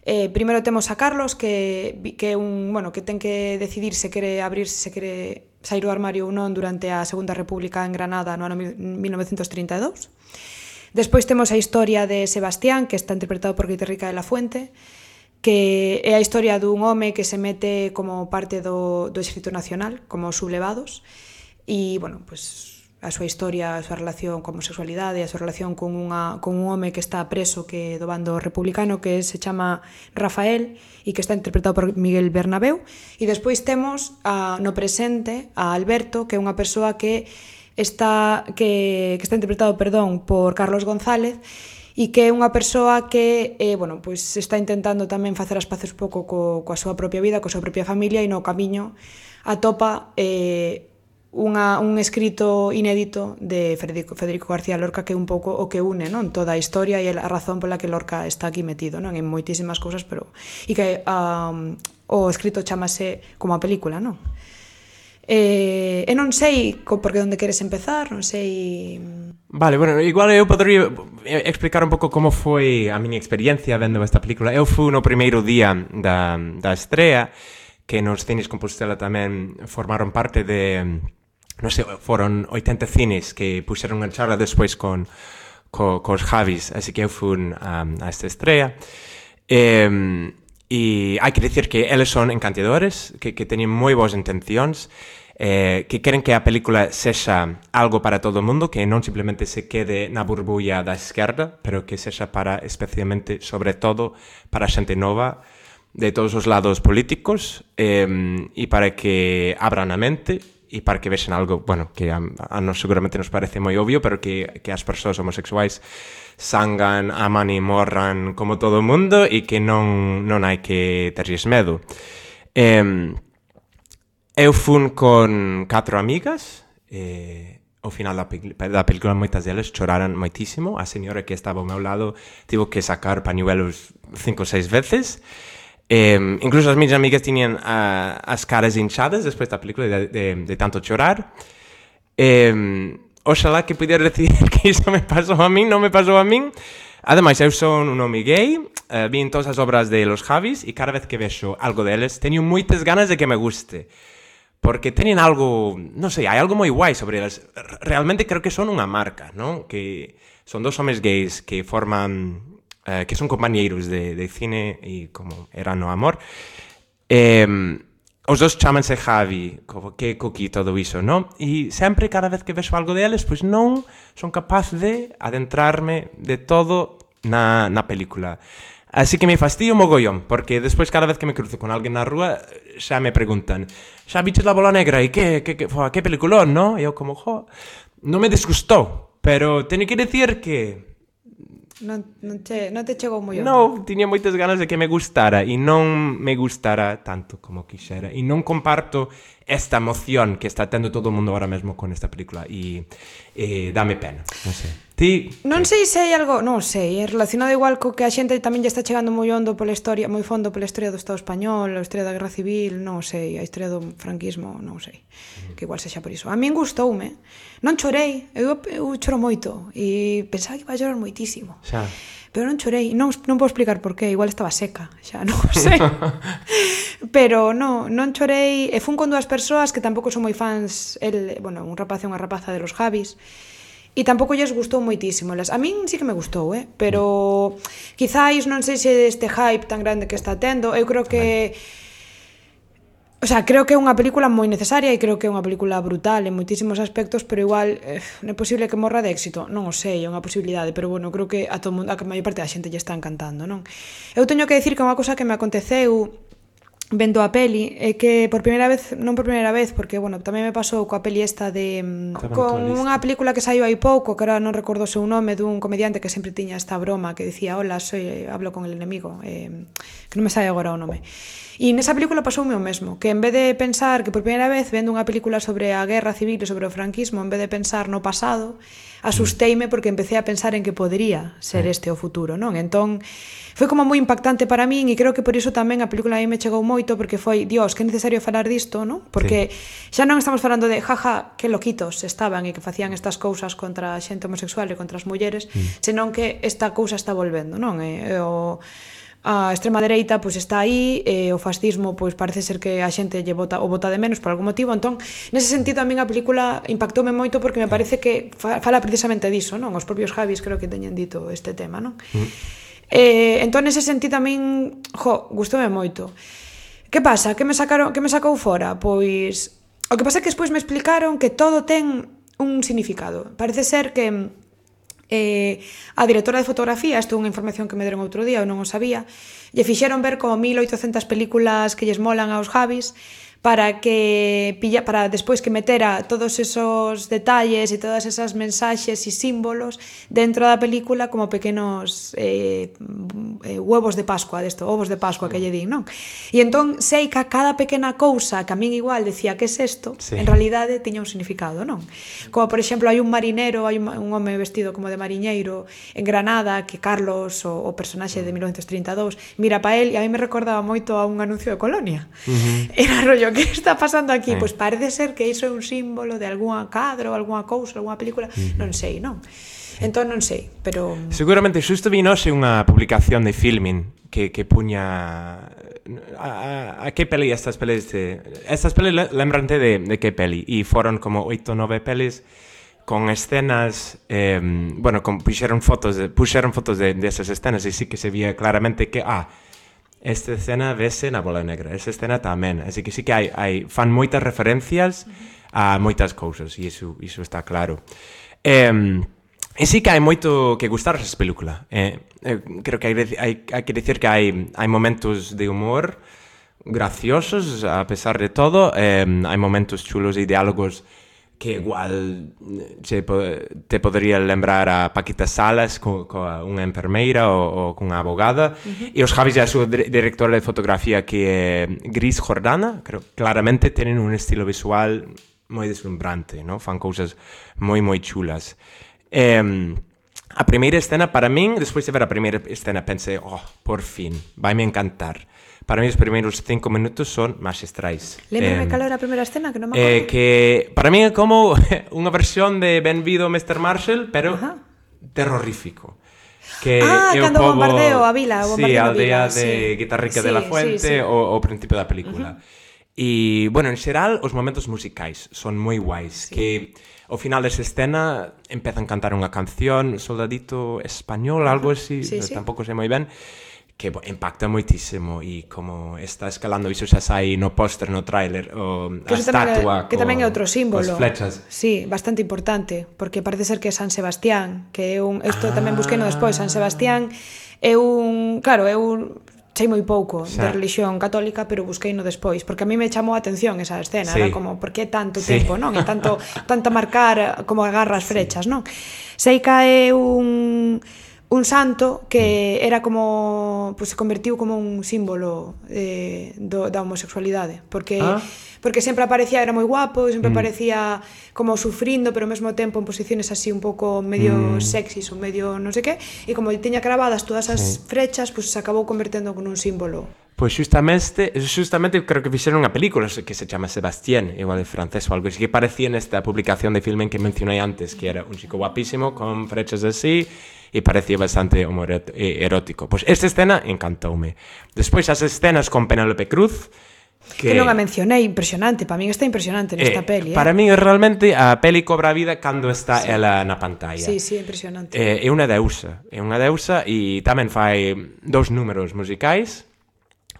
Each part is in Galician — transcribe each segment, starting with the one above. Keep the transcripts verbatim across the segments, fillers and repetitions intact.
Eh, primeiro temos a Carlos, que, que é un, bueno, que ten que decidir se quere abrir, se quere sair do armario ou non durante a Segunda República en Granada no ano mil novecentos trinta e dous. Despois temos a historia de Sebastián, que está interpretado por Guitarrica de la Fuente, que é a historia dun home que se mete como parte do, do Exército Nacional, como sublevados, e, bueno, pues a súa historia, a súa relación con homosexualidade, a súa relación con, unha, con un home que está preso que do bando republicano, que se chama Rafael e que está interpretado por Miguel Bernabéu. E despois temos a, no presente a Alberto, que é unha persoa que está que, que está interpretado, perdón, por Carlos González, e que é unha persoa que eh, bueno, pues está intentando tamén facer as paces un pouco co, coa súa propia vida, coa súa propia familia, e no camiño atopa eh, Unha, un escrito inédito de Federico, Federico García Lorca, que é un pouco o que une, non, toda a historia e a razón pola que Lorca está aquí metido, non, en moitísimas cousas, pero e que um, o escrito chamase como a película, non? Eh, e non sei por que onde queres empezar, non sei... Vale, bueno, igual eu podría explicar un pouco como foi a miña experiencia vendo esta película. Eu fui no primeiro día da, da estrea, que nos cines Compostela tamén formaron parte de... non sei, foron oitenta cines que puxeron en charla despois con co, cos Javis, así que eu fui a, a esta estrea. E, e hai que dicir que eles son encantadores, que, que teñen moi boas intencións, eh, que queren que a película sexa algo para todo o mundo, que non simplemente se quede na burbulla da esquerda, pero que sexa para, especialmente, sobre todo, para a xente nova, de todos os lados políticos, eh, e para que abran a mente, e para que vexen algo, bueno, que a, a nos seguramente nos parece moi obvio, pero que, que as persoas homosexuais sangan, aman e morran como todo o mundo, e que non, non hai que terlles medo. Eh, eu fun con catro amigas, eh, ao final da, da película moitas delas choraran moitísimo. A señora que estaba ao meu lado tivo que sacar pañuelos cinco ou seis veces. Eh, incluso as miñas amigas tiñan uh, as caras hinchadas despois da película de, de, de tanto chorar. Eh, oxalá que pudiera decir que iso me pasou a min, non me pasou a min. Ademais, eu son un home gay, uh, vi en todas as obras de los Javis, e cada vez que vexo algo deles teño moitas ganas de que me guste, porque teñen algo, non sei, hai algo moi guai sobre eles. Realmente creo que son unha marca, non? Que son dos homes gays que forman... Uh, que son compañeiros de, de cine e como era no amor. Eh, os dos chamanse Javi, como que coquí todo iso, non? E sempre, cada vez que vexo algo deles, pois non son capaz de adentrarme de todo na, na película. Así que me fastidio mogollón, porque despois cada vez que me cruzo con alguén na rúa xa me preguntan, xa viches La Bola Negra e que, que, que, que peliculón, non? E eu como, jo, non me desgustou, pero teño que dicir que Non, non, che, non te chegou moi non, tiña moitas ganas de que me gustara e non me gustara tanto como quixera, e non comparto esta emoción que está tendo todo o mundo ahora mesmo con esta película, e, e dame pena, non sei. Ti, non sei se hai algo, non sei, é relacionado igual co que a xente tamén lle está chegando moi hondo pola historia, moi fondo pola historia do Estado español, a historia da Guerra Civil, non sei, a historia do franquismo, non sei, que igual sexa por iso. A min gustoume, non chorei, eu, eu choro moito e pensaba que iba a chorar moitísimo. Xa. Pero non chorei, non, non podo explicar por qué, igual estaba seca, xa non sei. Pero non, non chorei, e fun con dúas persoas que tampouco son moi fans, el, bueno, un rapaz e unha rapaza de los Javis, e tampouco lles gustou moitísimo. A min sí que me gustou, eh? Pero quizáis non sei se este hype tan grande que está tendo, eu creo que... O sea, creo que é unha película moi necesaria e creo que é unha película brutal en moitísimos aspectos, pero igual eh, non é posible que morra de éxito. Non o sei, é unha posibilidade, pero bueno, creo que a todo mundo, a maior parte da xente lle está encantando, non? Eu teño que dicir que unha cousa que me aconteceu vendo a peli é que por primeira vez, non por primeira vez, porque bueno, tamén me pasou coa peli esta de con unha película que saiu hai pouco, que ahora non recordo o seu nome, dun comediante que sempre tiña esta broma que dicía, hola, soy, hablo con el enemigo, eh, que non me sai agora o nome. E nesa película pasoume o mesmo, que en vez de pensar que por primeira vez vendo unha película sobre a guerra civil e sobre o franquismo, en vez de pensar no pasado, asusteime porque empecé a pensar en que podría ser este o futuro, non? Entón, foi como moi impactante para min e creo que por iso tamén a película a mí me chegou moito, porque foi, Dios, que é necesario falar disto, non? Porque sí, xa non estamos falando de, jaja, que loquitos estaban e que facían estas cousas contra a xente homosexual e contra as mulleres, mm. senón que esta cousa está volvendo, non? E, e o... a extrema dereita pois está aí, e o fascismo pois parece ser que a xente lle vota, o vota de menos por algún motivo, entón nese sentido a min a película impactoume moito porque me parece que fala precisamente diso, non? Os propios Javis creo que teñen dito este tema, non? Mm. Eh, entón nese sentido a min, jo, gustoume moito. Que pasa? Que me sacaron, que me sacou fora? Pois o que pasa é que despois me explicaron que todo ten un significado. Parece ser que Eh, a directora de fotografía, isto é unha información que me deron outro día, eu non o sabía, lle fixeron ver como mil oitocentas películas que lles molan aos Javis para que pilla, para despois que metera todos esos detalles e todas esas mensaxes e símbolos dentro da película como pequenos eh, eh, huevos de Pascua, desto, ovos de Pascua que lle din, non? E entón sei que a cada pequena cousa que a min igual decía que es isto, sí, en realidade tiña un significado, non? Como por exemplo hai un marinero, hai un, un home vestido como de mariñeiro en Granada que Carlos, o, o personaxe de mil novecentos trinta e dous, mira pa él e a mí me recordaba moito a un anuncio de Colonia. Uh-huh. Era rollo, que está pasando aquí? Sí. Pois parece ser que iso é un símbolo de algunha cadro, algunha cousa, algunha película, uh-huh, non sei, non? Entón non sei, pero... Seguramente xusto vi noxe unha publicación de Filmin que, que puña... A, a, a que peli estas pelis de... Estas pelis lembrante de, de que peli, e foron como oito, nove pelis con escenas, eh, bueno, con, puxeron fotos de, puxeron fotos de, de esas escenas e sí que se vía claramente que, ah, esta escena vese na Bola Negra, esta escena tamén, así que sí que hai, hai fan moitas referencias a moitas cousas, e iso, iso está claro. Eh, e sí que hai moito que gustar esa película. Eh, eh, creo que hai, hai, hai que dicir que hai, hai momentos de humor graciosos, a pesar de todo, eh, hai momentos chulos e diálogos que igual se, te podría lembrar a Paquita Salas co, co unha enfermeira ou, ou cunha abogada, uh-huh, e os Javis e a súa directora de fotografía que é Gris Jordana, creo claramente tenen un estilo visual moi deslumbrante, ¿no? Fan cousas moi moi chulas. Eh, a primeira escena para min, despois de ver a primeira escena pensei, oh, por fin, vai me encantar. Para mí os primeiros cinco minutos son magistrais. Lémbrame eh, cal era a primeira escena, que non me acordo. Eh, que para mí é como unha versión de Benvido mister Marshall, pero uh-huh, terrorífico. Que ah, é cando o pobo, bombardeo a vila, o bombardeo sí, a aldea vila, de sí, Guitarrica sí, de la Fuente, sí, sí, o, o principio da película. Uh-huh. E, bueno, en xeral, os momentos musicais son moi guais, sí, que ao final desa escena empezan a cantar unha canción, Soldadito Español, algo así, sí, sí, tampouco sei moi ben, que impacta moitísimo, e como está escalando, iso xa sai no póster, no tráiler, o a estatua, que tamén é outro símbolo, as flechas. Sí, bastante importante, porque parece ser que é San Sebastián, que é un, isto ah, tamén busquei no despois, San Sebastián é un, claro, é un, sei moi pouco xa de religión católica, pero busquei no despois, porque a mí me chamou a atención esa escena, sí, era como, por que tanto sí, tempo, non? E tanto, tanto marcar como agarra as frechas, sí, non? Sei que é un... un santo que era como, pues se convertiu como un símbolo eh, do, da homosexualidade, porque ah, porque sempre aparecía, era moi guapo, sempre mm, aparecía como sufrindo, pero ao mesmo tempo en posiciones así un pouco medio mm, sexys ou medio non sei que, e como tiña cravadas todas as sí, frechas, pues se acabou convertendo en un símbolo. Pois justamente, justamente creo que fixeron unha película que se chama Sebastián, igual de francés ou algo así, que parecía nesta publicación de Filmin que mencionei antes, que era un chico guapísimo con frechas así, e parecía bastante erótico. Pois esta escena encantoume. Despois as escenas con Penélope Cruz, que, que non a mencionei, impresionante, para min está impresionante nesta eh, peli. Eh? Para min realmente a peli cobra vida cando está sí, ela na pantalla. Sí, sí, impresionante. Eh, é unha deusa, é unha deusa e tamén fai dous números musicais.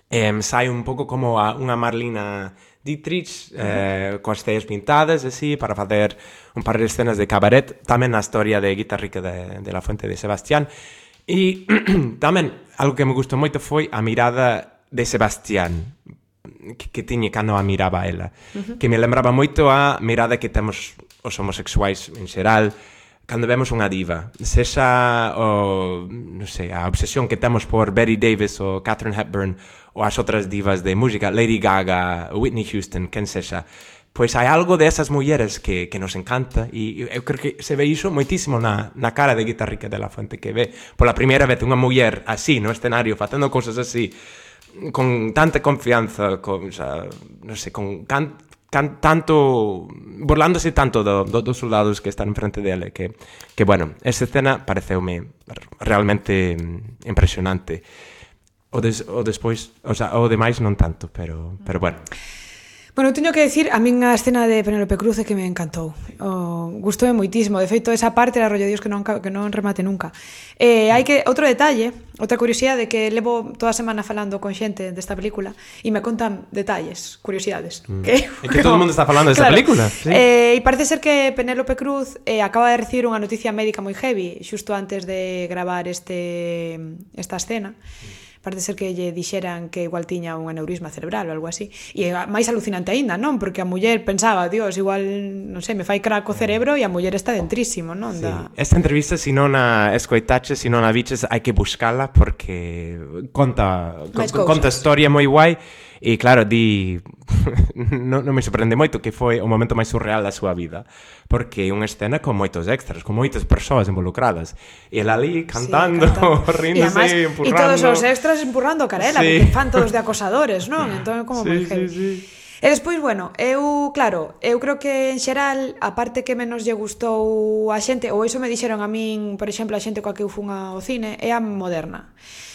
Eh, sai un pouco como a unha Marlina Dietrich, eh, coas ceas pintadas, así, para facer un par de escenas de cabaret, tamén na historia de Guitarrica de, de la Fuente de Sebastián. E tamén, algo que me gustou moito foi a mirada de Sebastián, que, que tiña cando a miraba ela, uh-huh, que me lembraba moito a mirada que temos os homosexuais en xeral, cando vemos unha diva, sexa o, non sei, a obsesión que temos por Betty Davis ou Katharine Hepburn ou as outras divas de música, Lady Gaga, Whitney Houston, quen sexa, pois hai algo de esas mulleres que, que nos encanta e eu creo que se ve iso moitísimo na, na cara de Guitarrica de la Fuente, que ve pola primeira vez unha muller así no escenario facendo cousas así con tanta confianza, con, o sea, non sei, con can, can, tanto burlándose tanto do, do, dos soldados que están enfrente dele, que, que bueno, esa escena pareceume realmente impresionante. o, des, o despois, o, sea, o demais non tanto, pero, pero bueno. Bueno, teño que decir, a min a escena de Penélope Cruz é que me encantou. O, gustoume moitísimo. De feito, esa parte era rollo Dios que non, que non remate nunca. Eh, hai que, outro detalle, outra curiosidade, que levo toda a semana falando con xente desta película e me contan detalles, curiosidades. Mm. Que, é que todo o mundo está falando desta claro, película. Sí. Eh, e parece ser que Penélope Cruz eh, acaba de recibir unha noticia médica moi heavy xusto antes de gravar este esta escena. Mm. Parece ser que lle dixeran que igual tiña un aneurisma cerebral ou algo así. E máis alucinante aínda, non? Porque a muller pensaba, Dios, igual, non sei, me fai crack o cerebro e a muller está dentrísimo, non? Sí. Da... Esta entrevista, se non a escoitaches, se non a viches, hai que buscala porque conta, co, conta historia moi guai. E claro, di non, non me sorprende moito que foi o momento máis surreal da súa vida, porque é unha escena con moitos extras, con moitas persoas involucradas, e ela ali cantando, sí, cantando. Ríndose, empurrando. E todos os extras empurrando a carela, sí. Porque fan todos de acosadores, non? Entón, como sí, moi heavy. Sí, sí. E despois, bueno, eu, claro, eu creo que en xeral a parte que menos lle gustou a xente, ou iso me dixeron a min, por exemplo, a xente coa que eu fun ao cine, é a moderna.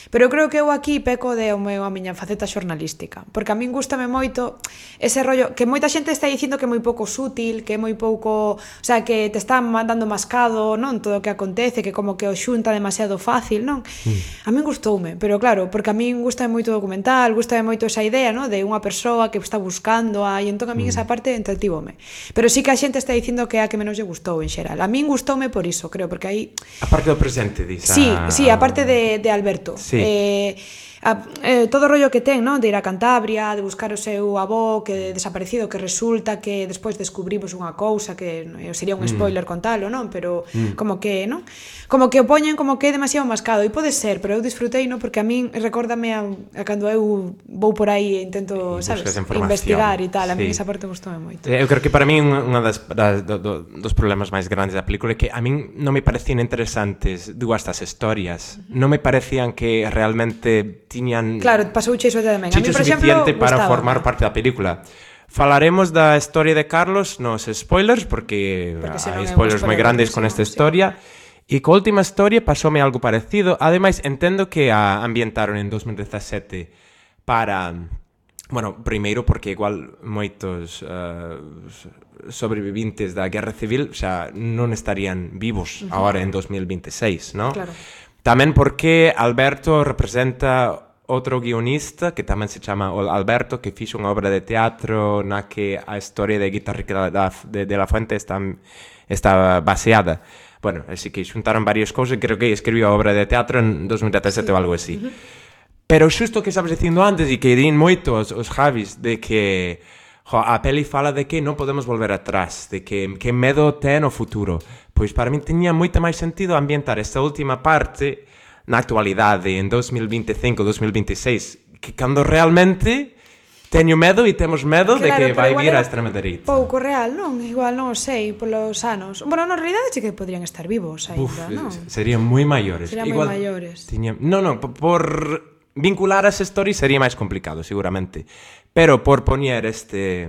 Pero eu creo que eu aquí peco de o meu, a miña faceta xornalística, porque a min gústame moito ese rollo, que moita xente está dicindo que é moi pouco sutil, que é moi pouco, o sea, que te están mandando mascado, non, todo o que acontece, que como que o xunta demasiado fácil, non? Mm. A min gustoume, pero claro, porque a min gustame moito o documental, gustame moito esa idea, non, de unha persoa que está buscando, a, e entón a min mm. esa parte entretívome. Pero sí que a xente está dicindo que é a que menos lle gustou en xeral. A min gustoume por iso, creo, porque aí... A parte do presente, disa... Sí, sí, a parte de, de Alberto. Sí. Eh, a, eh, todo o rollo que ten, non? De ir a Cantabria, de buscar o seu avó que desaparecido, que resulta que despois descubrimos unha cousa que eh, sería un spoiler mm. contalo, non? Pero mm. como que, non? Como que o poñen como que é demasiado mascado, e pode ser, pero eu disfrutei, non? Porque a min recórdame a, a cando eu vou por aí e intento, sabes, investigar e tal, a min sí. Esa parte gustoume moito. Eu creo que para min unha das, das do, do, dos problemas máis grandes da película é que a min non me parecían interesantes dúas das historias, uh-huh. Non me parecían que realmente tiñan claro, pasouche iso tamén. A mí, por suficiente exemplo, para gustaba. Formar parte da película. Falaremos da historia de Carlos nos spoilers, porque, porque hai spoilers moi grandes con esta historia. Sí. E co última historia pasoume algo parecido. Ademais, entendo que a ambientaron en dos mil dezasete para... Bueno, primeiro porque igual moitos uh, sobrevivintes da Guerra Civil xa non estarían vivos uh-huh. Agora en dos mil veintiséis, ¿no? Claro. Tamén porque Alberto representa outro guionista que tamén se chama Alberto, que fixo unha obra de teatro na que a historia de Guitarrica de, de la Fuente está, está baseada. Bueno, así que xuntaron varias cousas, creo que escribiu a obra de teatro en dos mil dezasete sí. Ou algo así. Uh-huh. Pero xusto que estabas dicindo antes e que din moito os, os Javis de que jo, a peli fala de que non podemos volver atrás, de que, que medo ten o futuro. Pois para min tiña moito máis sentido ambientar esta última parte na actualidade, en dos mil veinticinco, dos mil veintiséis, que cando realmente teño medo e temos medo claro, de que vai vir a extrema dereita. Pouco real, non? Igual non o sei, polos anos. Bueno, na realidade sí que podrían estar vivos ainda, non? Serían moi maiores. Serían moi maiores. Tiña... Non, non, por vincular as stories sería máis complicado, seguramente. Pero por poñer este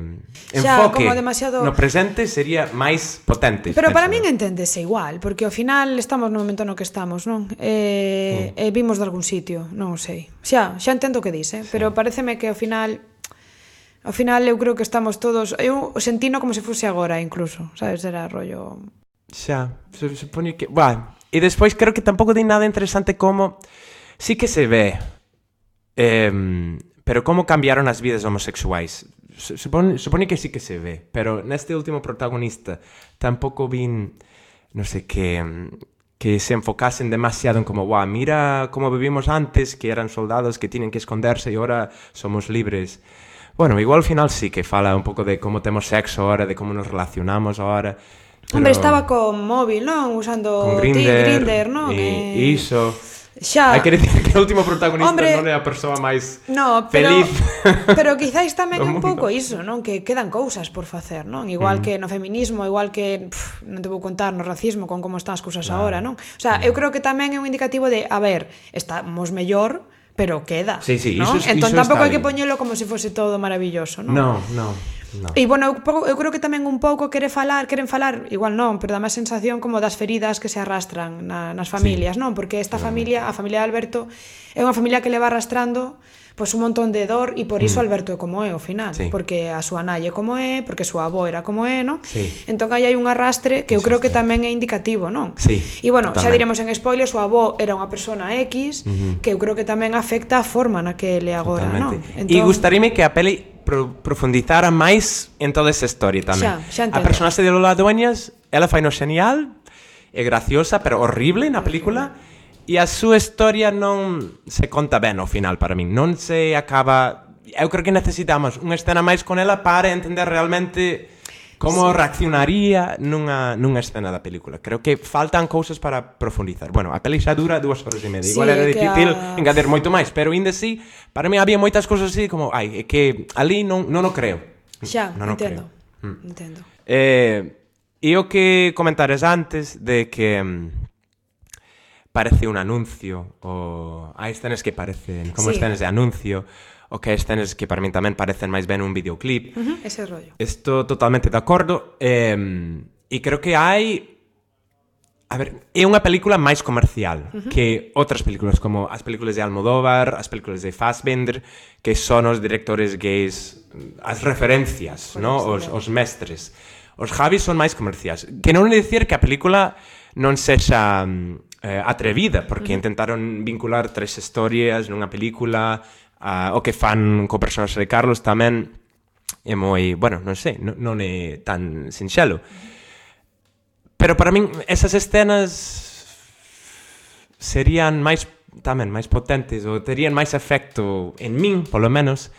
enfoque xa, demasiado... no presente sería máis potente. Pero para min enténdese igual, porque ao final estamos no momento no que estamos, non? E, mm. e vimos de algún sitio, non sei. Xa, xa entendo o que dis, eh? Sí. Pero pareceme que ao final... Ao final eu creo que estamos todos... Eu sentino como se fose agora, incluso, sabes? Era rollo... Xa, se, se pone que... Bah. E despois creo que tampouco di nada interesante como... Sí que se ve... Eh, pero como cambiaron as vidas homosexuais. Supone, supone que sí que se ve, pero neste último protagonista tampouco vin, non sei, que, que se enfocasen demasiado en como, guau, mira como vivimos antes, que eran soldados que tienen que esconderse e ahora somos libres. Bueno, igual ao final sí que fala un pouco de como temos sexo ahora, de como nos relacionamos ahora. Pero... Hombre, estaba con móvil, non? Usando con Grindr, Grindr, non? E eh... iso... Xa. Hai que decir que o último protagonista Hombre, non é a persoa máis no, pero, feliz. Pero quizáis tamén é un pouco iso, non? Que quedan cousas por facer, non? Igual mm. que no feminismo, igual que pff, non te vou contar no racismo con como están as cousas claro. Agora, non? O sea, mm. eu creo que tamén é un indicativo de, a ver, estamos mellor, pero queda, sí, sí, non? Iso, entón iso tampouco hai que poñelo como se fose todo maravilloso, non? No, no. No. E, bueno, eu, eu creo que tamén un pouco quere falar, queren falar, igual non, pero dá máis sensación como das feridas que se arrastran na, nas familias, sí. non? Porque esta familia, a familia de Alberto, é unha familia que leva arrastrando pois un montón de dor e por iso mm. Alberto é como é ao final, sí. porque a súa nai é como é, porque a súa avó era como é, non? Sí. Entón aí hai un arrastre que eu creo que tamén é indicativo, non? Sí. E bueno, totalmente. xa diremos en spoiler, súa avó era unha persona X, uh-huh. que eu creo que tamén afecta a forma na que ele agora, non? Entón... E gustaríame que a peli pro profundizara máis en toda esa historia tamén. Xa, xa entendo. A personaxe de Lola Dueñas, ela fai no genial, é graciosa, pero horrible na película. E a súa historia non se conta ben ao final para min. Non se acaba... Eu creo que necesitamos unha escena máis con ela para entender realmente como sí. reaccionaría nunha, nunha escena da película. Creo que faltan cousas para profundizar. Bueno, a peli xa dura dúas horas e media. Sí, igual era difícil a... engadir moito máis, pero ainda así, para mí había moitas cousas así como, ai, é que ali non, non o creo. Xa, non entendo. Creo. Mm. Entendo. Eh, e o que comentares antes de que... parece un anuncio, ou hai escenas que parecen como sí. escenas de anuncio, ou que hai escenas que para min tamén parecen máis ben un videoclip. Uh-huh, ese rollo. Estou totalmente de acordo, eh, e creo que hai... A ver, é unha película máis comercial uh-huh. que outras películas, como as películas de Almodóvar, as películas de Fassbinder, que son os directores gays, as referencias, no? os, os mestres. Os Javis son máis comerciais. Que non é dicir que a película non sexa... Eh, atrevida, porque uh-huh. intentaron vincular tres historias nunha película, uh, o que fan co personaxe de Carlos tamén é moi, bueno, non sei, non, non é tan sinxelo. Pero para min esas escenas serían máis tamén máis potentes ou terían máis efecto en min, polo menos,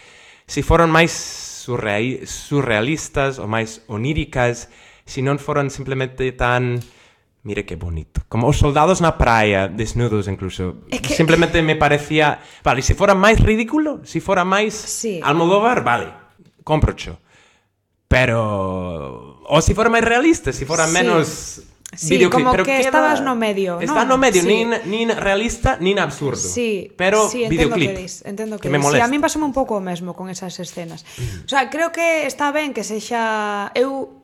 se foran máis surreal, surrealistas ou máis oníricas, se non foran simplemente tan... Mire que bonito. Como os soldados na praia, desnudos incluso. Es que... Simplemente me parecía... Vale, se fora máis ridículo, se fora máis sí. Almodóvar, vale, comprocho. Pero... O se fora máis realista, se fora sí. menos... Sí, videoclip. Como pero que queda... estabas no medio, Está ¿no? no medio, sí. nin, nin realista, nin absurdo. Sí, pero sí, videoclip. Que dis, entendo que, que me Sí, molesta. a mí pasame un pouco o mesmo con esas escenas. O sea, creo que está ben que sexa... Eu...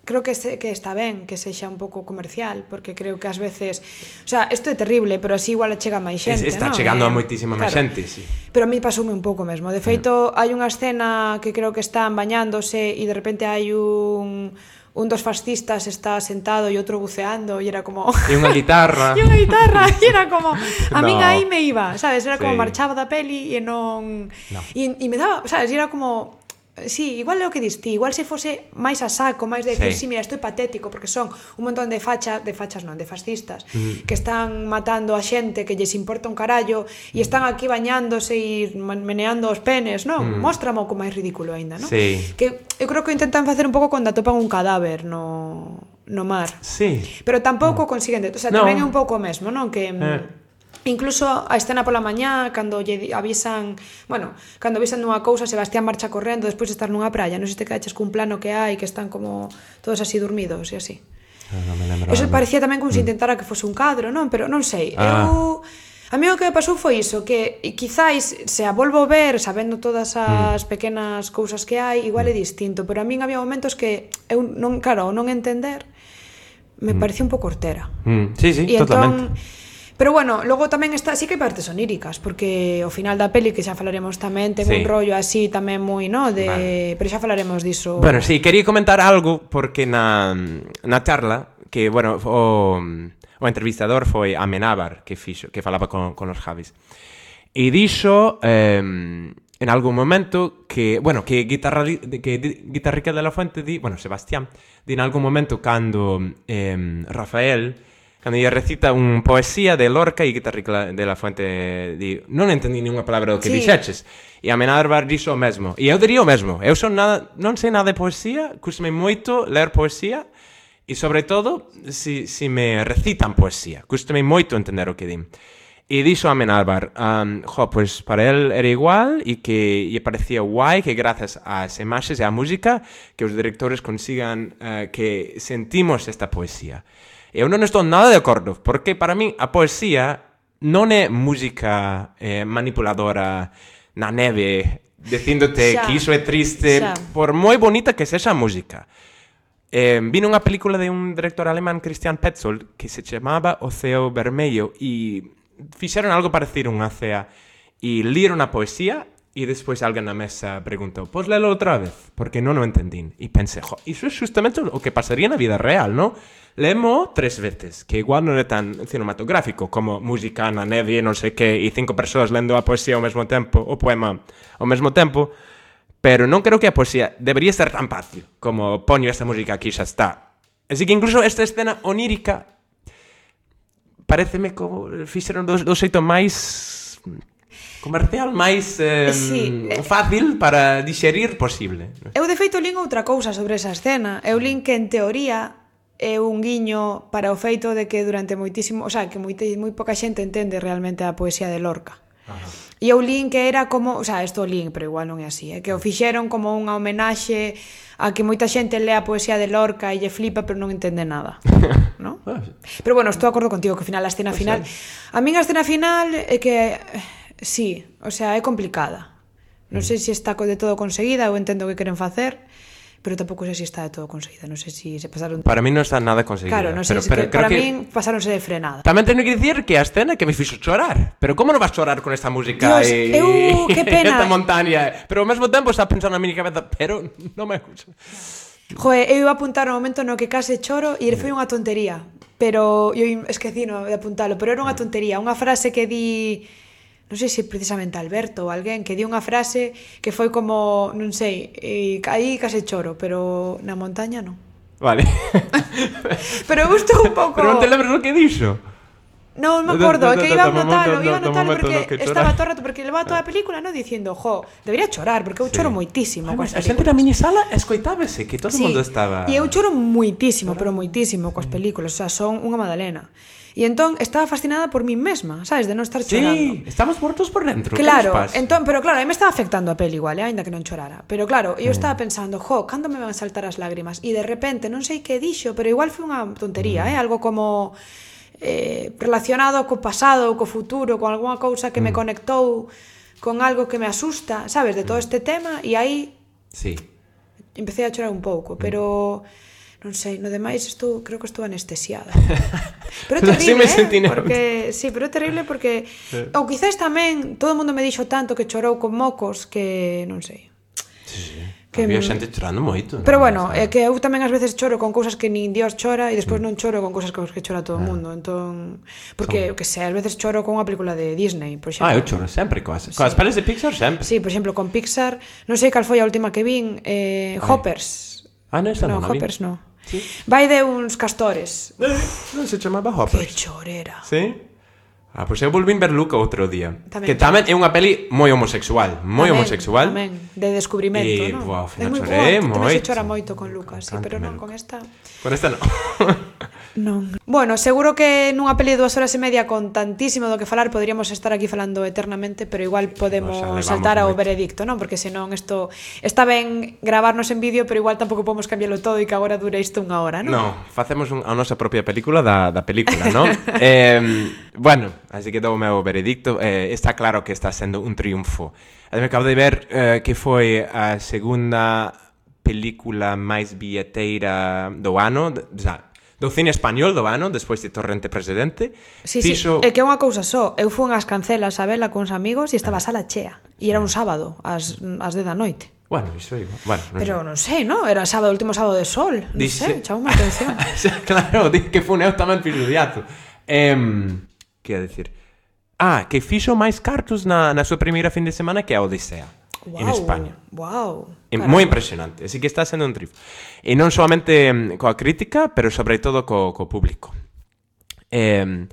creo que, se, que está ben que sexa un pouco comercial, porque creo que ás veces, o sea, isto é terrible, pero así igual chega máis xente, está ¿no? chegando eh, a moitísima máis claro. xente, sí. Pero a mí pasoume un pouco mesmo. De feito, hai unha escena que creo que están bañándose e de repente hai un un dos fascistas está sentado e outro buceando e era como... E unha guitarra. e unha guitarra, e era como... A no. min aí me iba, sabes? Era como sí. marchaba da peli e non... No. E, e me daba, sabes? E era como... Sí, igual é o que diste, igual se fose máis a saco, máis de decir, sí, sí mira, isto é patético, porque son un montón de fachas, de fachas non, de fascistas, mm. que están matando a xente, que lles importa un carallo, e están aquí bañándose e meneando os penes, non? Mm. Móstrame o máis ridículo aínda, non? Sí. Que eu creo que intentan facer un pouco cando atopan un cadáver no, no mar. Sí. Pero tampouco no. consiguen, o sea, no. tamén é un pouco o mesmo, non? Que... Eh. Incluso a escena pola mañá, cando lle avisan, bueno, cando avisan nunha cousa, Sebastián marcha correndo despois de estar nunha praia, non sei se te caches cun plano que hai, que están como todos así dormidos e así. No, no me lembro. Eso parecía tamén como mm. se intentara que fose un cadro, non? Pero non sei, ah. eu... A mí o que me pasou foi iso, que quizáis se a volvo ver sabendo todas as mm. pequenas cousas que hai, igual é distinto, pero a min había momentos que eu non, claro, non entender me mm. parecía un pouco hortera. Mm. Sí, sí, e totalmente. Entón, pero bueno, logo tamén está, sí que hai partes oníricas, porque ao final da peli, que xa falaremos tamén, ten sí. un rollo así tamén moi, no, de, vale. Pero xa falaremos diso. Bueno, sí, quería comentar algo porque na na charla que, bueno, o o entrevistador foi Amenábar, que fixo, que falaba con con os Javis. E dixo eh, en algún momento que, bueno, que guitarra que Guitarrica de la Fuente di, bueno, Sebastián, di en algún momento cando eh, Rafael cando ella recita un poesía de Lorca e Guitarrica de la Fuente di, non entendí ninguna palabra do que sí. dixeches. E Amenábar dixo o mesmo. E eu diría o mesmo. Eu son nada, non sei nada de poesía, custame moito ler poesía e, sobre todo, si, si me recitan poesía. Custame moito entender o que din. E dixo Amenábar, um, jo, pues para él era igual e que lle parecía guai que grazas ás imaxes e á música que os directores consigan uh, que sentimos esta poesía. Eu non estou nada de acordo, porque para mí a poesía non é música eh, manipuladora na neve dicíndote Xa. que iso é triste, Xa. por moi bonita que sexa a música. Eh, vino unha película de un director alemán, Christian Petzold, que se chamaba O Ceo Vermello, e fixeron algo parecido unha cea, e leron a poesía, e despois alguén na mesa preguntou, pois lelo outra vez, porque non o entendín. E pensei, jo, iso é justamente o que pasaría na vida real, non? Lemo tres veces, que igual non é tan cinematográfico como música na neve e non sei que, e cinco persoas lendo a poesía ao mesmo tempo, o poema ao mesmo tempo, pero non creo que a poesía debería ser tan fácil como poño esta música aquí xa está. Así que incluso esta escena onírica pareceme como fixeron do, do xeito máis comercial, máis eh, Sí. fácil para digerir posible. Eu de feito lin outra cousa sobre esa escena. Eu lin que en teoría é un guiño para o feito de que durante moitísimo, o sea, que moi, moi poca xente entende realmente a poesía de Lorca. Ajá. E eu lin que era como, o sea, isto lin, pero igual non é así, é que o fixeron como unha homenaxe a que moita xente lea a poesía de Lorca e lle flipa, pero non entende nada, ¿no? Pero bueno, estou de acordo contigo que ao final a escena final, a min a escena final é que sí, o sea, é complicada. Non sei se está de todo conseguida, eu entendo o que queren facer, pero tampouco sei se está de todo conseguida, non sei se se pasaron... Para mí non está nada conseguida. Claro, non sei, pero, pero, pero que para que... min pasáronse de frenada. Tamén teño que dicir que a escena que me fixo chorar. Pero como non vas chorar con esta música Dios, e... eu, que pena. esta montaña? Pero ao mesmo tempo está pensando na miña cabeza, pero non me gusta. Joder, eu iba a apuntar no momento no que case choro e foi unha tontería, pero eu esquecino de apuntalo, pero era unha tontería, unha frase que di, non sei se precisamente Alberto ou alguén, que di unha frase que foi como, non sei, e aí case choro, pero na montaña non. Vale. Pero gustou un pouco... Pero non te lembras o que dixo? Non me acordo, é que iba a notalo, iba a notalo momento no porque que estaba chora. todo o rato, porque levaba toda a película, no, dicindo, jo, debería chorar, porque eu choro moitísimo Ai, coas a xente películas. na minisala escoitábase que todo o Sí, mundo estaba... e eu choro moitísimo, pero moitísimo coas películas, o sea, son unha magdalena. E entón estaba fascinada por min mesma, sabes, de non estar chorando. Sí, estamos muertos por dentro. Claro, que nos pasa? entón, pero claro, a mí me estaba afectando a peli igual, eh, aínda que non chorara. Pero claro, eu estaba pensando, jo, cando me van a saltar as lágrimas? E de repente, non sei que dixo, pero igual foi unha tontería, eh, algo como eh, relacionado co pasado ou co futuro, con algunha cousa que me conectou con algo que me asusta, sabes, de todo este tema, e aí Sí. empecé a chorar un pouco, pero non sei, no demais estou, creo que estou anestesiada. Pero é Así terrible, me sentí, eh? ¿no? Porque sí, pero é terrible porque ou quizás tamén todo o mundo me dixo tanto que chorou con mocos que non sei. Sí, sí. Que Había m- xente chorando moito. Pero non? bueno, O sea, é que eu tamén ás veces choro con cousas que nin Dios chora e despois non choro con cousas con que chora todo o mundo. Entón, porque, eu que sei, ás veces choro con unha película de Disney, por exemplo. Ah, eu choro sempre coas, coas pelis de Pixar sempre. Sí, por exemplo, con Pixar, non sei cal foi a última que vin, eh, Hoppers. Ah, non, esta No, non a vi. Hoppers no. Sí. Vai de uns castores. Eh, non se chamaba Que Hoppers. chorera. Sí? Ah, pois eu volvín ver Luca outro día. Tamén. Que tamén é unha peli moi homosexual. Moi Tamén, homosexual. Tamén, de descubrimento, E, non? buah, ao final É moi chorei boa, que tamén se moito. chora moito con Lucas, sí, pero non Encántame, con esta. Con esta non. Non. Bueno, seguro que nunha peli de dúas horas e media con tantísimo do que falar poderíamos estar aquí falando eternamente, pero igual podemos Nos elevamos saltar ao moito. veredicto, non? Porque senón isto está ben gravarnos en vídeo, pero igual tampouco podemos cambiarlo todo e que agora dure isto unha hora, non? No, facemos un, a nosa propia película da, da película, non? eh, bueno, así que dou o meu veredicto. Eh, está claro que está sendo un triunfo. Eu me acabo de ver eh, que foi a segunda película máis billeteira do ano, de, o sea, do cine español do ano, despois de Torrente Presidente. Sí, Fixo... sí, é que é unha cousa só. Eu fui unhas cancelas a vela con uns amigos e estaba a sala chea. E era un sábado, ás, ás dez da noite. Bueno, iso é igual. Bueno, non Pero non sei, non? Era sábado, último sábado de sol. Non Dice- sei, chamou a atención. Claro, di que funeu tamén fixo diazo. Eh, que ia dicir? Ah, que fixo máis cartos na, na súa primeira fin de semana que a Odisea. Wow, En España. Wow. É moi impresionante, así que está sendo un triunfo. E non solamente mm, coa crítica, pero sobre todo co, co público. Eh,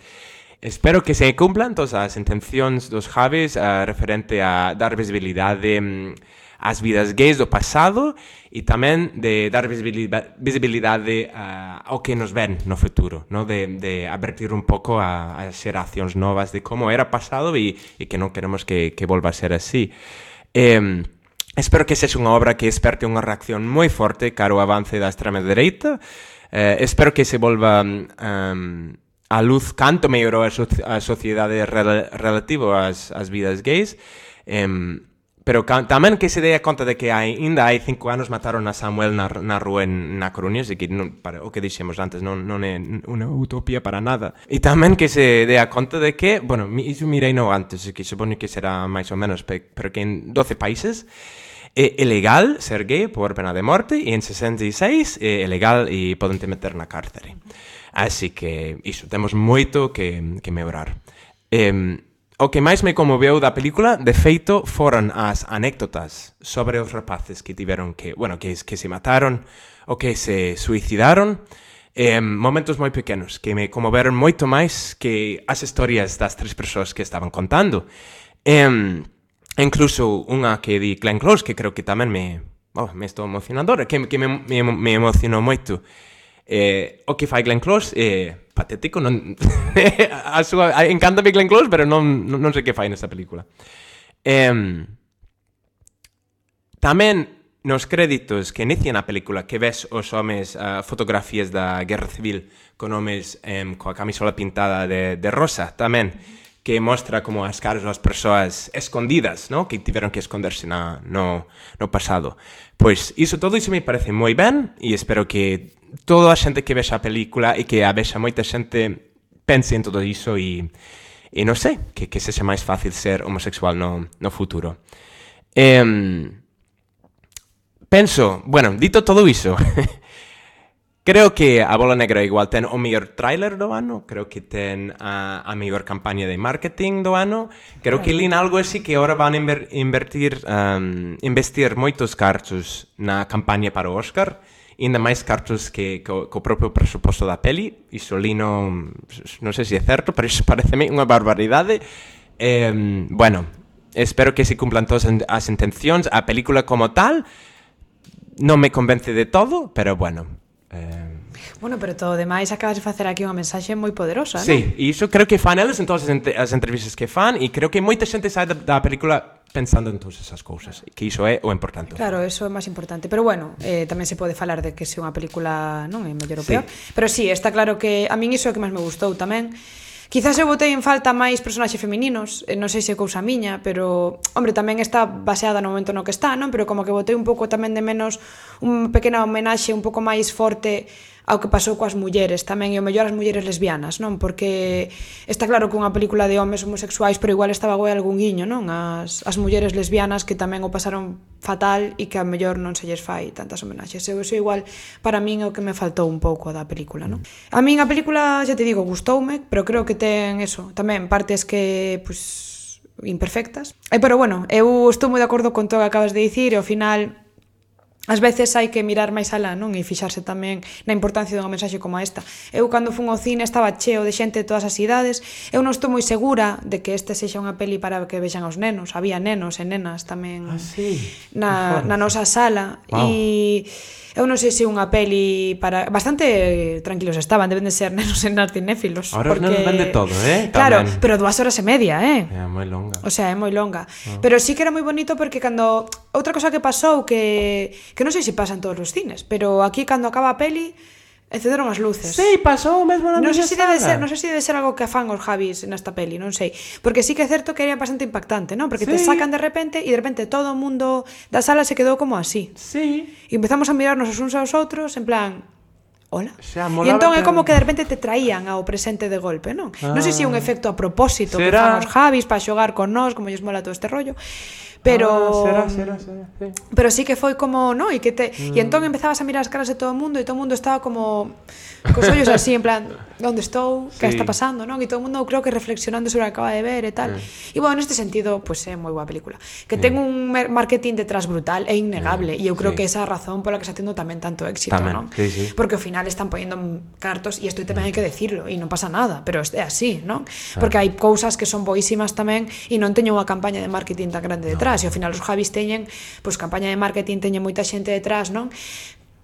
espero que se cumplan todas as intencións dos Javis uh, referente a dar visibilidade mm, ás vidas gays do pasado e tamén de dar visibilidade, visibilidade uh, ao que nos ven no futuro, no? de, de advertir un pouco a, a xeracións novas de como era pasado e, e que non queremos que, que volva a ser así. Eh, espero que sexa unha obra que esperte unha reacción moi forte cara ao avance da extrema dereita. Eh, espero que se volva um, a luz canto mellorou a, so a sociedade rel relativo ás, ás vidas gays. Eh, pero ca- tamén que se dea conta de que hai, ainda hai cinco anos mataron a Samuel na, na rúa en, na Coruña, así que non, para, o que dixemos antes non, non é unha utopía para nada. E tamén que se dea conta de que, bueno, iso mirei no antes, que supoño que será máis ou menos, pero que en doce países é ilegal ser gay por pena de morte e en sesenta e seis é ilegal e poden te meter na cárcere. Así que iso, temos moito que, que mellorar. Eh, O que máis me conmoveu da película, de feito, foron as anécdotas sobre os rapaces que tiveron que, bueno, que, que se mataron ou que se suicidaron. Eh, momentos moi pequenos que me conmoveron moito máis que as historias das tres persoas que estaban contando. Eh, incluso unha que di Glenn Close, que creo que tamén me, oh, me estou emocionando, que, que me, me, me emocionou moito. Eh, o que fai Glenn Close é eh, patético, non a súa, encántame Glenn Close, pero non, non, non sei que fai nesta película. Eh, tamén nos créditos que inician a película que ves os homes uh, fotografías da Guerra Civil con homes um, coa camisola pintada de, de rosa tamén, que mostra como as caras das persoas escondidas, ¿no? Que tiveron que esconderse na, no, no pasado. Pois iso, todo iso me parece moi ben e espero que toda a xente que vexa a película e que a vexa moita xente pense en todo iso e, e non sei, que, que sexa máis fácil ser homosexual no, no futuro. Eh, penso, bueno, dito todo iso, creo que A Bola Negra igual ten o mellor tráiler do ano, creo que ten a, a mellor campaña de marketing do ano, creo que lín algo así que ahora van a inver, invertir, um, investir moitos cartos na campaña para o Óscar, ainda máis cartos que co, co propio presuposto da peli. Iso lino, non sei se é certo, pero iso pareceme unha barbaridade. Eh, bueno, espero que se cumplan todas as intencións. A película como tal non me convence de todo, pero bueno. Eh... Bueno, pero todo demais acabas de facer aquí unha mensaxe moi poderosa, non? Sí, e iso creo que fan eles en todas as, ent- as entrevistas que fan, e creo que moita xente sai da, da película pensando en todas esas cousas, que iso é o importante. Claro, eso é máis importante. Pero bueno, eh, tamén se pode falar de que se unha película non é mellor ou peor. Sí. Pero sí, está claro que a min iso é o que máis me gustou tamén. Quizás eu botei en falta máis personaxes femininos, eh, non sei se é cousa miña, pero, hombre, tamén está baseada no momento no que está, non? Pero como que botei un pouco tamén de menos unha pequena homenaxe un pouco máis forte ao que pasou coas mulleres tamén, e o mellor as mulleres lesbianas, non? Porque está claro que unha película de homes homosexuais, pero igual estaba guai algún guiño, non? As, as mulleres lesbianas que tamén o pasaron fatal e que a mellor non se lles fai tantas homenaxes. Eu, eso igual para min é o que me faltou un pouco da película, non? A min a película, xa te digo, gustoume, pero creo que ten eso, tamén partes que, pues, imperfectas. E, pero bueno, eu estou moi de acordo con todo o que acabas de dicir, e ao final ás veces hai que mirar máis alá, non? E fixarse tamén na importancia dunha mensaxe como esta. Eu, cando fun ao cine, estaba cheo de xente de todas as idades. Eu non estou moi segura de que este sexa unha peli para que vexan os nenos. Había nenos e nenas tamén ah, sí. na, na nosa sala. Wow. E eu non sei se unha peli para... Bastante tranquilos estaban, deben de ser nenos e nenas cinéfilos. Ahora porque... os nenos ven de todo, eh? Claro, tamén. pero dúas horas e media, eh? É moi longa. O sea, é moi longa. Oh. Pero sí que era moi bonito porque cando... Outra cosa que pasou que... Que non sei se pasa en todos os cines, pero aquí cando acaba a peli encenderon as luces. Sí, pasou mesmo na non sei se debe ser, non non sei se debe ser algo que afan os Javis nesta peli, non sei. Porque sí que é certo que era bastante impactante, non? Porque sí. Te sacan de repente e de repente todo o mundo da sala se quedou como así. Sí. E empezamos a mirarnos os uns aos outros en plan... Hola. Xa, e entón é como que de repente te traían ao presente de golpe, non? Ah. Non sei se é un efecto a propósito que fan os Javis para xogar con nós, como lles mola todo este rollo. Pero ah, será, será, será, sí. Pero sí que foi como, no, e que te mm. e entón empezabas a mirar as caras de todo o mundo e todo o mundo estaba como cos ollos así en plan, onde estou? Sí. Que está pasando, non? E todo o mundo creo que reflexionando sobre o que acaba de ver e tal. Mm. E bueno, neste sentido, pues é moi boa película. Que mm. ten un marketing detrás brutal e innegable, e mm. eu creo sí. que esa é a razón pola que está tendo tamén tanto éxito, tamén, non? Sí, sí. Porque ao final están poñendo cartos e isto tamén hai que decirlo e non pasa nada, pero é así, non? Ah. Porque hai cousas que son boísimas tamén e non teño unha campaña de marketing tan grande detrás, no. E ao final os Javis teñen, pois campaña de marketing teñen moita xente detrás, non?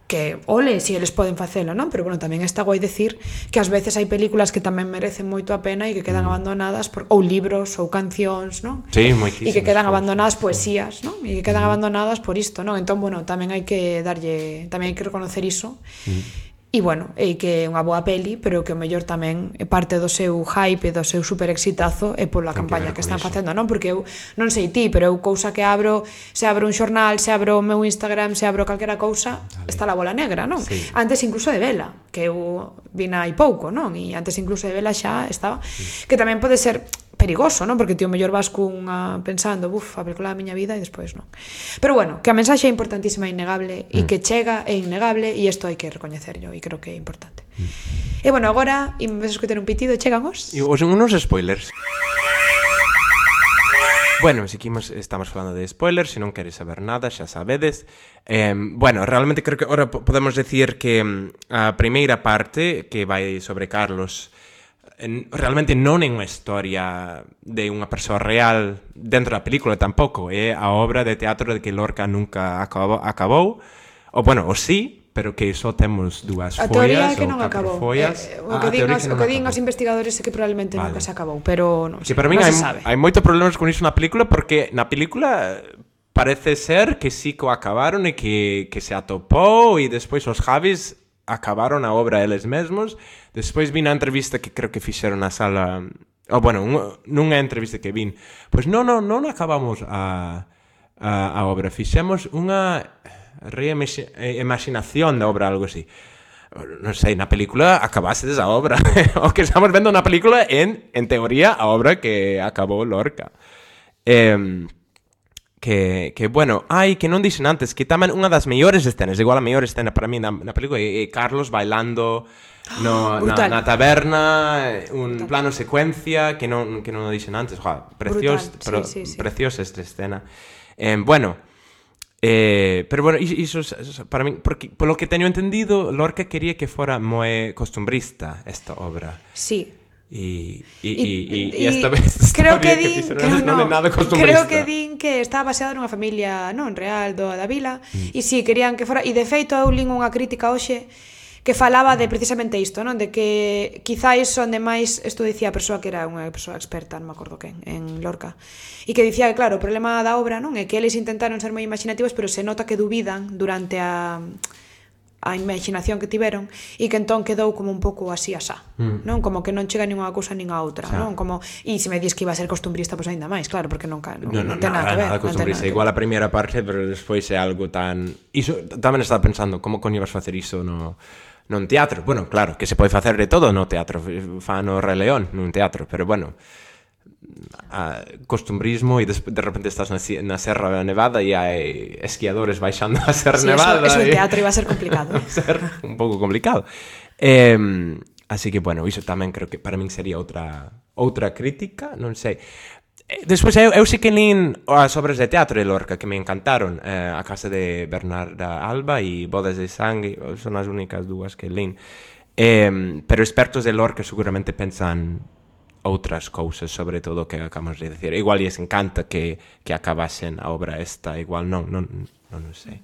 Que ole, si eles poden facelo, non? Pero bueno, tamén está guai decir que ás veces hai películas que tamén merecen moito a pena e que quedan mm. abandonadas por, ou libros ou cancións, non? Sí, moitísimas. E que quedan abandonadas poesías, non? E que quedan mm. abandonadas por isto, non? Entón, bueno, tamén hai que darlle, tamén hai que reconocer iso. Mm. E, bueno, é que é unha boa peli, pero que o mellor tamén é parte do seu hype, do seu super exitazo, é pola Ten que campaña ver que con están iso. facendo, non? Porque eu, non sei ti, pero eu cousa que abro, se abro un xornal, se abro o meu Instagram, se abro calquera cousa, está la bola negra, non? Sí. Antes incluso de vela, que eu vina hai pouco, non? E antes incluso de vela xa estaba, sí. Que tamén pode ser perigoso, non? Porque ti o mellor vas cunha pensando, buf, a película da miña vida e despois non. Pero bueno, que a mensaxe é importantísima e innegable e mm. que chega é innegable e isto hai que recoñecerlo e creo que é importante. Mm. E bueno, agora, e me ves escutar un pitido, chegan os... E os unos spoilers. Bueno, si aquí estamos falando de spoilers, se non queres saber nada, xa sabedes. Eh, bueno, realmente creo que ahora podemos decir que a primeira parte, que vai sobre Carlos, realmente non é unha historia de unha persoa real dentro da película tampouco, é a obra de teatro de que Lorca nunca acabou, acabou ou bueno, ou sí, pero que só temos dúas follas. A teoría é que non acabou. Follas. Eh, o que din, os, o que din os investigadores é que probablemente vale. Nunca se acabou, pero non sei, que para mí non hai, se sabe. Hai moitos problemas con iso na película porque na película parece ser que sí que o acabaron e que, que se atopou e despois os Javis acabaron a obra eles mesmos. Despois vin a entrevista que creo que fixeron na sala, ou bueno, un, nunha entrevista que vin, pois non, non, non acabamos a, a, a obra, fixemos unha reimaginación da obra, algo así. Non sei, na película acabasedes a obra. O que estamos vendo na película en, en teoría, a obra que acabou Lorca. Eh, Que, que, bueno, ai, que non dixen antes, que tamén unha das mellores escenas, igual a mellor escena para mí na, na película, é, é Carlos bailando no, na, na taberna, un brutal. Plano secuencia, que non, que non o dixen antes, oja, precios, sí, pero, sí, sí. Preciosa esta escena. Eh, bueno, eh, pero bueno, iso, iso para mí, porque polo que teño entendido, Lorca quería que fora moi costumbrista esta obra. Sí. E, e, e, e esta vez esta creo que din que, que non, non é nada costumbrista. Creo que din que estaba baseado nunha familia non real do da vila mm. e si sí, querían que fora, e de feito eu lin unha crítica hoxe que falaba de precisamente isto, non? De que quizáis onde máis isto dicía a persoa que era unha persoa experta, non me acordo quen, en Lorca. E que dicía que claro, o problema da obra, non, é que eles intentaron ser moi imaginativos, pero se nota que dubidan durante a a imaginación que tiveron e que entón quedou como un pouco así asá, mm. non? Como que non chega nin unha cousa nin a outra, xa. Non? Como e se me dis que iba a ser costumbrista, pois pues aínda máis, claro, porque non non, no, no, non ten nada, nada que ver. Nada costumbrista, nada igual a primeira parte, pero despois é algo tan iso tamén estaba pensando, como coño vas facer iso no non teatro? Bueno, claro, que se pode facer de todo no teatro, fa no Rei León nun teatro, pero bueno, a costumbrismo e de, de repente estás na, na Serra Nevada e hai esquiadores baixando a Serra sí, Nevada. Eso, eso en teatro iba a ser complicado. Va a ser un pouco complicado. Eh, así que, bueno, iso tamén creo que para min sería outra outra crítica, non sei. Despois, eu, eu sei que lin as obras de teatro de Lorca que me encantaron, eh, A casa de Bernarda Alba e Bodas de sangue, son as únicas dúas que lin. Eh, pero expertos de Lorca seguramente pensan outras cousas, sobre todo o que acabamos de decir. Igual lles encanta que, que acabasen a obra esta, igual non, non, non, non sei.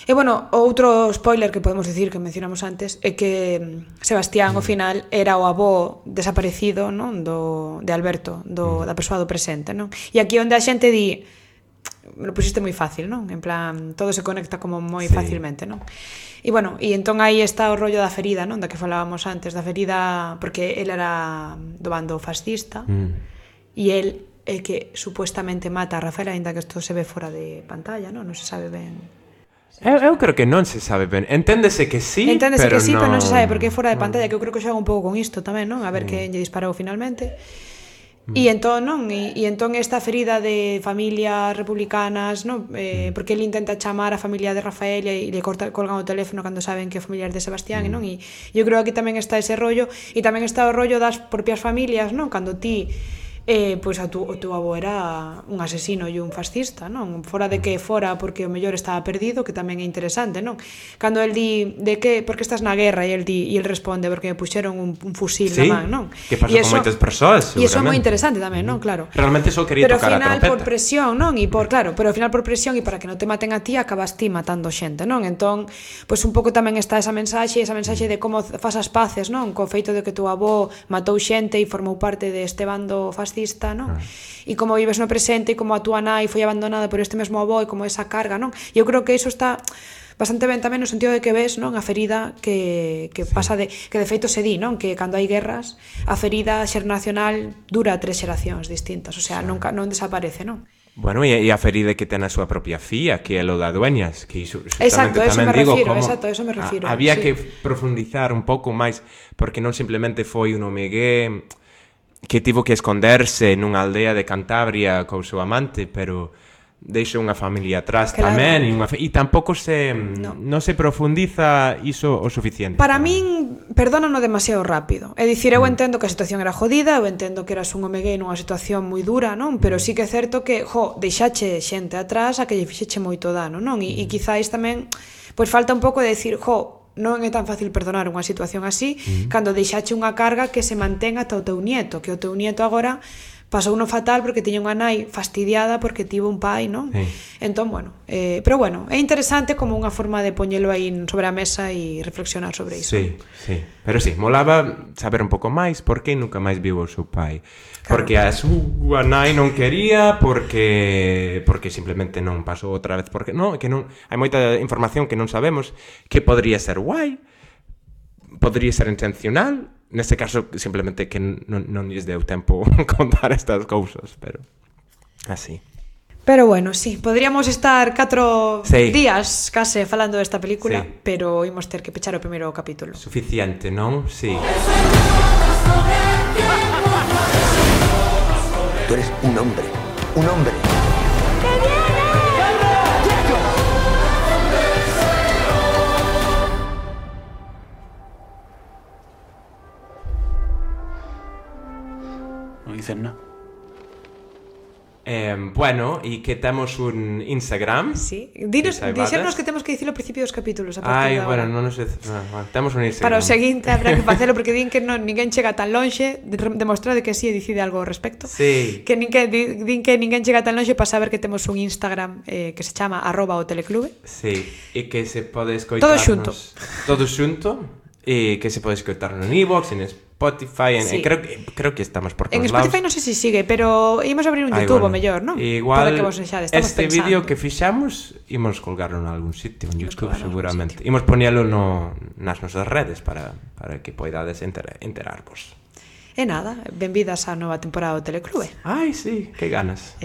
E bueno, outro spoiler que podemos decir que mencionamos antes é que Sebastián, mm. ao final, era o avó desaparecido, non? Do, de Alberto, do, mm. da persoa do presente, non? E aquí onde a xente di me lo pusiste moi fácil, non? En plan, todo se conecta como moi sí. facilmente, non? E bueno, e entón aí está o rollo da ferida, non? Da que falábamos antes, da ferida, porque el era do bando fascista mm. e el é que supuestamente mata a Rafael, ainda que isto se ve fora de pantalla, non? Non se sabe ben. Eu, eu creo que non se sabe ben. Enténdese que sí, Enténdese pero que sí, non... pero non se sabe porque é fora de pantalla, que eu creo que xoga un pouco con isto tamén, non? A ver mm. que lle disparou finalmente. E entón, non? E, e entón esta ferida de familias republicanas, non? Eh, porque ele intenta chamar a familia de Rafael e le corta, colgan o teléfono cando saben que é familiar de Sebastián, mm. non? E eu creo que aquí tamén está ese rollo, e tamén está o rollo das propias familias, non? Cando ti eh, pois a tu, o teu avó era un asesino e un fascista, non? Fora de que fora porque o mellor estaba perdido, que tamén é interesante, non? Cando el di de que, porque estás na guerra, e el di, e el responde porque me puxeron un, un fusil sí, na man, non? Que pasa con moitas persoas, E iso é moi interesante tamén, non? Claro. Realmente só quería pero tocar a trompeta. Pero ao final por presión, non? E por, claro, pero ao final por presión e para que non te maten a ti, acabas ti matando xente, non? Entón, pois un pouco tamén está esa mensaxe, esa mensaxe de como fas as paces, non? Co feito de que tu avó matou xente e formou parte deste bando fascista fascista, non? Ah. E como vives no presente e como a túa nai foi abandonada por este mesmo avó e como esa carga, non? E eu creo que iso está bastante ben tamén no sentido de que ves, non, a ferida que, que sí. pasa de, que de feito se di, non, que cando hai guerras a ferida xeracional dura tres xeracións distintas, o sea, sí. nunca non desaparece, non? Bueno, e a ferida que ten a súa propia fía, que é lo da dueñas, que iso exacto, eso tamén me digo refiro, como exacto, eso me refiro. A, había sí. que profundizar un pouco máis, porque non simplemente foi un homegué que tivo que esconderse nunha aldea de Cantabria co seu amante, pero deixa unha familia atrás claro. tamén e, unha, e tampouco se no. non se profundiza iso o suficiente. Para min, perdónano demasiado rápido. É dicir, eu mm. entendo que a situación era jodida, eu entendo que eras un home gay nunha situación moi dura, non? Pero mm. sí que é certo que, jo, deixache xente atrás a que lle fixeche moito dano, non? E, mm. e quizáis tamén, pois falta un pouco de decir, jo, non é tan fácil perdonar unha situación así mm. cando deixache unha carga que se mantén ata o teu nieto, que o teu nieto agora pasou uno fatal porque tiña unha nai fastidiada porque tivo un pai, non? Sí. Entón, bueno, eh, pero bueno, é interesante como unha forma de poñelo aí sobre a mesa e reflexionar sobre iso. Sí, sí, pero sí, molaba saber un pouco máis por que nunca máis viu o seu pai. Claro. Porque a súa nai non quería, porque porque simplemente non pasou outra vez, porque non, que non hai moita información que non sabemos, que podría ser guai, podría ser intencional. Neste caso, simplemente que non, non lles deu tempo contar estas cousas, pero así. Pero bueno, sí, podríamos estar catro sí. días case falando desta película, sí. pero imos ter que pechar o primeiro capítulo. Suficiente, non? Sí. Tú eres un hombre, un hombre. ¡Que viene! No dicen nada. Eh, bueno, e que temos un Instagram. Sí, dinos, dixernos que temos que dicilo ao principio dos capítulos a Ai, partir de bueno, agora. non nos no, no, temos un Instagram. Para o seguinte habrá que facelo porque din que non, ninguén chega tan lonxe, demostrade que si sí, decide algo ao respecto. Sí. Que nin que din que ninguén chega tan lonxe para saber que temos un Instagram eh, que se chama arroba o teleclube. Sí, e que se pode escoitarnos todo xunto. Todo xunto e que se pode escoitar no iVoox, en Spotify, en, sí. en, creo, creo que estamos por todos lados. En Spotify non sei se sigue, pero ímos abrir un YouTube o mellor, non? Igual, que vos enxade, estamos este pensando. vídeo que fixamos imos colgarlo en algún sitio, en YouTube seguramente. Imos poñelo no, nas nosas redes para, para que poidades enter, enterarvos. E nada, benvidas á nova temporada do Teleclube. Ai, sí, que ganas.